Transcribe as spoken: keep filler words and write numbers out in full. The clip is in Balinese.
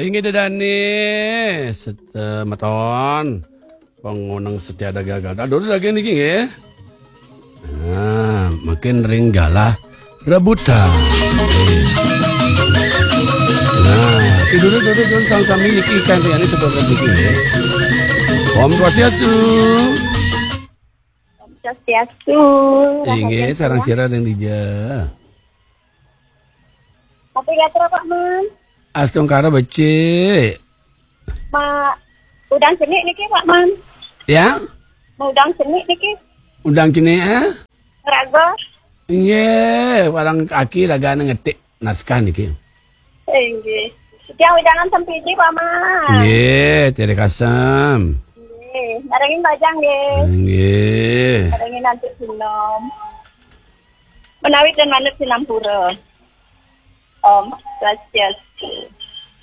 Inggih dah dane semeton. Pangoneng setia ada gagal. Aduh, lagi niki nggih. Nah, makin ring galah rebutan. Nah, tidur dulu dulu sami-sami niki ikan riani sebelum niki nggih. Om Swastiastu. Swastiastu. Inggih, sareng sira ring dija. Tapi gatra Pak Man. Astungkara becik. Ma, udang cenik niki Pak Man. Ya? Ma udang cenik niki. Udang cenik, eh? Raga. Inggih, warang aki ragane ngetik naskah niki. Inggih. Tiang wedangan sempiji Pak Man. Nggih, tiada kasem. Nggih, marengin bajang nggih. Nggih. Marengin nanti sinom. Menawi dan manut sinampura. Om Swastiastu.